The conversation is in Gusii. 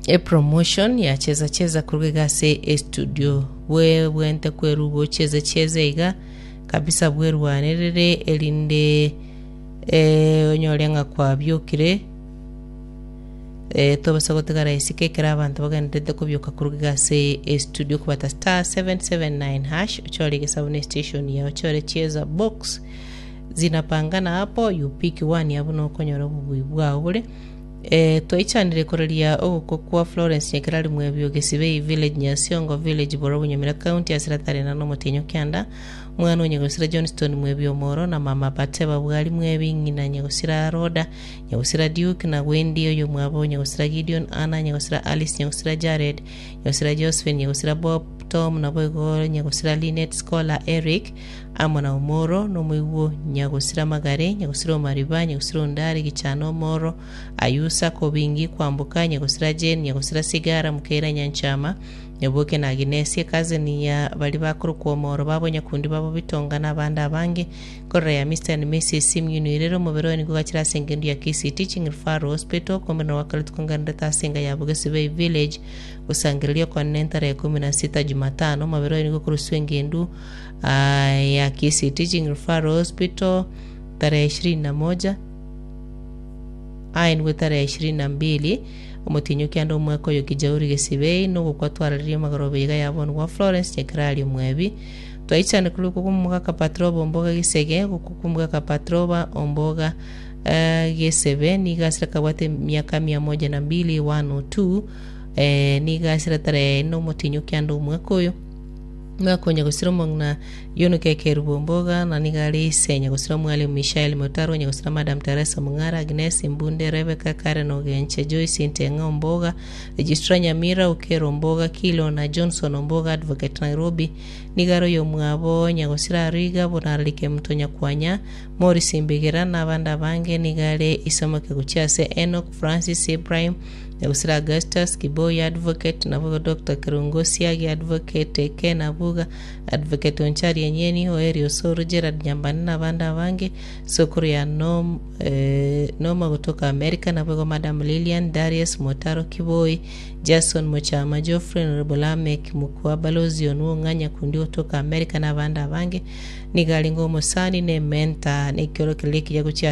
Epromotion ya cheza cheza korwa iga ase estudio bwebwente kwerwa gocheza cheza iga kabisa bwerwanerere erinde eh, onyore ng'a kwabiokire eh, tobasa gotigara isiko ekero abanto bagendererete kobioka korwa iga ase estudio kobata star 779 hash ochore egesabu ne station yao ochore cheza box zinapangana hapo you pick one abwo nokonyora obobui bwao bore Ee, twaichanire koraria ogokwa kwa Florence Nyakerari Mwebio, Gesibei Village, Nyasiongo Village, Borobu, Nyamira County, ase Ratarena na omotienyi o kianda, omwana o Nyagosira Johnston Mwebio Omoro na mama Bateba Bwari Mwebi, ng'ina Nyagosira Rhoda, Nyagosira Duke na Wendy oyomwabo Nyagosira Gideon, Anna, Nyagosira Alice, Nyagosira Jared, Nyagosira Josephine, Nyagosira Bob, Tom, naboigo Nyagosira Linet, Scholar, Eric, Amo na omoro, nomoigwo nyagosira amagare, nyagosira omariba, nyagosira ondari, gichana omoro, ayusa, kobingi, kwamboka, nyagosira Jane, nyagosira sigara, mukeira nyanchama, nyaboke na Aginesi, ecousin ya baria bakorokwa omoro babo nyakundi babo bitonga na abande abange, korora ya Mister and Missus Simiyu Oirere omobere oye nigo ogachire ase engendu ya Kisii Teaching Referral Hospital, kombera gwakaretwe kongenderete ase enga ya Bogesibei Village, gosangereria okonene tarehe 16 Jumatano, omobere oye nigo okoruswa engendu ya Kisii Teaching Referral Hospital tarehe 21 aenigwe tarehe 22 omotienyi o kianda omwaka oyo Kijauri Gesibei nogokwa twararirie amagoroba iga ya bono gwa Florence Nyakerari Omwebi twaichane korwa okwo kw'omogaka Patroba Omboga Gisege gokwa kw'omogaka Patroba Omboga eh, Gesebe nigo asire kabwate emiaka mia moja na mbili 102 eh, nigo asire tarehe ine omotienyi o kianda omwaka oyo Ngakonya gosira omong'ina Yunuka ekerubo omboga, na nigo are ise nyagosira omwalimu Mishael Motaro, nyagosira Madam Teresa Mong'ara, Agnes Mbunde, Rebecca Karen Ogenche, Joyce Nteng'a Omboga, Registrar Nyamira, Okero Omboga, Kilo na Johnson Omboga Advocate Nairobi, nigo are oyomwabo nyagosira Ariga, Bonarari Kemunto Nyakwanya, Morris Mbigera na abande abange, nigo are ise omoke gochia ase Enock Francis Ibrahim, Nyagusira Augustus, Kiboi Advocate, naboigo Doctor Kerungo Siagi Advocate, Ken Abuga, Advocate Onchari Enyeni, Oeri Osoro, Gerald Nyambane na abande abange, Sokoro ya Nom, eh, Noma gotoka America, naboigo Madam Lilian, Darius Motaro Kiboi, Jason Mochama, Geoffrey Honorable Lameck Mukua, Balozi Onwo Ng'anya Kundi gotoka America na abande abange, nigo arenge omosani na ementor na ekiorokererio ekiya gochia ase.